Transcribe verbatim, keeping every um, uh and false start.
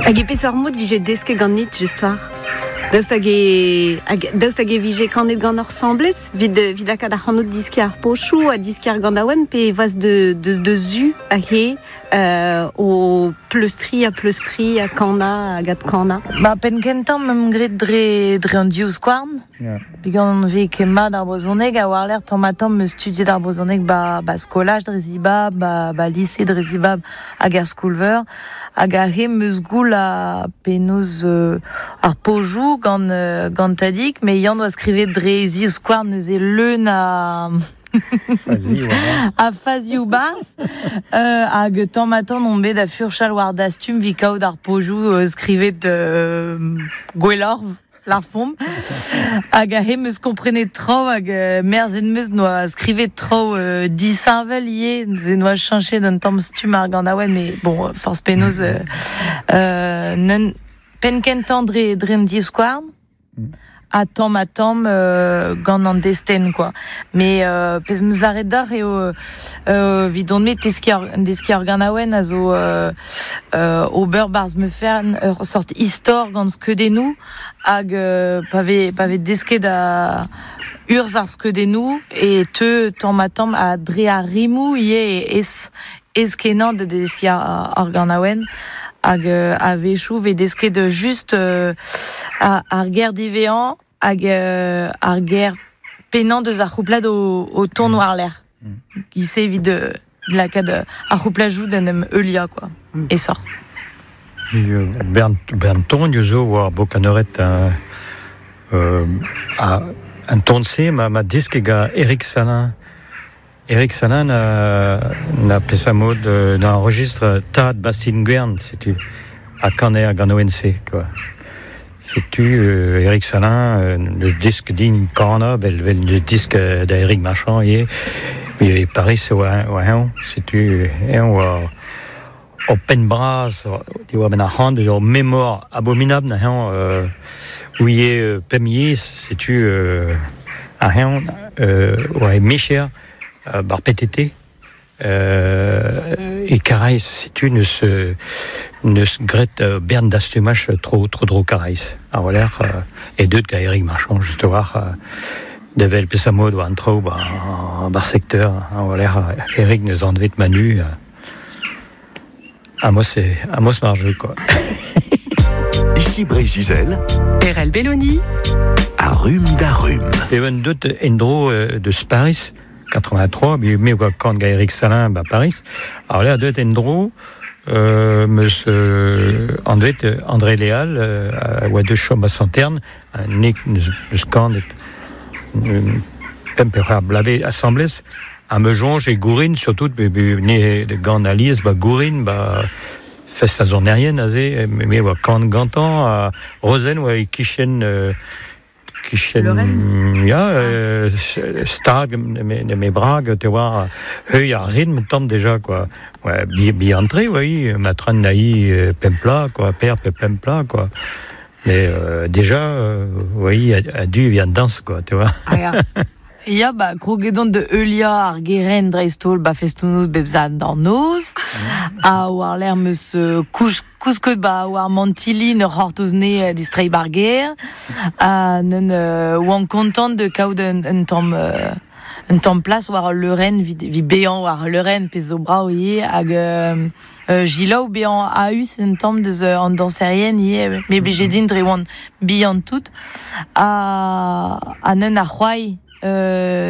Hag e peseurt mod vije desket ganit just war? Daoust hag e, hag, daoust hag e vije kanet gant ur samblez vid, vid lakaat ar c'hanot diski ar pochou ha diski ar gant pe vaz de, de, de zu a he euh, o pleustri a pleustri a kana hag at kana. Ba, pen kentan mem gret dre, dre an div skouarn. Yeah. Peogwir an vez ket mat ar brezhoneg a war l'air tamm ha tamm meus studiet ar brezhoneg ba, ba skolaj dre zibab, ba, ba lise dre zibab hag ar skol-veur. Hag a he meus goul a penaos euh, ar pojou gant, euh, gant tadik, me yann oa skrivet dre ziv skouarn neuze leun a... a fazioù barz euh, hag tamm ha tamm on bet a furchal war dastum vi kaout ar pojou euh, skrivet euh, gwelloc'h lar fomp hag a he meus komprenet tro hag euh, merzen meus noa skrivet tro euh, disheñvel ivez neuze noa cheñchet d'un tamm stumm ar ganaouenn mais bon forzh penaos euh, euh, neun pen kentañ dre dre an divskouarn a tamm ha tamm euh, gant an destenn quoi. Mais euh, pezh meus lâret deoc'h eo euh, 'vidon me teskiñ ar, deskiñ ar ganaouenn a zo euh, euh, ober barzh me fenn ur sort istor gant skeudennoù hag euh, pa vez pa vez desket a urzh ar skeudennoù e teu tamm ha tamm a dre ar rimoù ivez es ez kenañ de deskiñ ar, ar ganaouenn hag euh, a-wechoù vez desket just euh, a, ar ger diwezhañ hag euh, ar ger pennañ deus ar c'houplad o, o ton war l'air. Giz-se evit euh, lakaat euh, ar c'houplajoù d'en em heuliañ quoi. Mm. E sort. Bern, bern ton zo war bokaneuret euh, euh, a un ton-se ma, ma disk ga Eric Salin. Eric Salin na, na pesa mod euh, na enregistre Tad Bastien Guern, setu a kaner gant O N C, quoi. Setu euh, Eric Salin, euh, le disque din kana, vel, vel le disque d'Eric Marchand, e, e Paris oa oa eñ, setu eñ oa o penn bras, di oa ben ar c'hant, ur memor abominable na eñ euh, ouie euh, pemp yezh, setu euh, ar eñ euh, oa e mecher euh, bar P T T euh, e Karaez, setu neus euh, neus gret euh, bern dastumach tro tro dro Karaez. Ar waler euh, e deut ga Eric Marchand just war euh, devel pesa mod oa an traoù ba, bar secteur ar waler Eric neus anvet Manu euh, Amos e Amos marjeu quoi. Ici Breizh-Izel, Erel Belloni, a rumm da rumm. E un deut endro euh, de Paris quatre-vingt-trois, mais me oa kant ga Eric Salin ba Paris. Alors là deut endro euh, meus euh, anvet euh, André Léal euh, a oa deus chom a Santerne, un nek neus, neus kant et euh, pemp ur blave assemblez a me jonge e gourin surtout be, be, ne de gant alies ba gourin ba fest a zonerien aze me me oa kant gantañ a Rozen oa e kichen euh, kichen Lorraine. Ya euh, stag me me brag te war heuil ar rin tamm déjà quoi. Ouais, bi bi entré oui ma tran naï euh, pempla quoi, père pe pempla quoi, mais euh, déjà euh, oui a, a dû vient danse quoi, tu vois. Ah ya. Ya, ba, krogedon de heuliañ ar geren dreist-holl ba festoù-noz bep zad d'an noz. Ha war l'air meus euh, kouch, kousket ba war mantilli ur c'hortoz ne euh, distreiñ bar gêr. Ha neun euh, oan kontant de kaout un, un tamm euh, un tamm plas war al leurenn vid, vid bezañ war al leurenn pezh zo brav ivez hag euh, euh, jilaou bezañ a-us un tamm deus euh, an dañserien ivez me blije din dre oan bihan tout ha, ha neun ar c'hoai euh,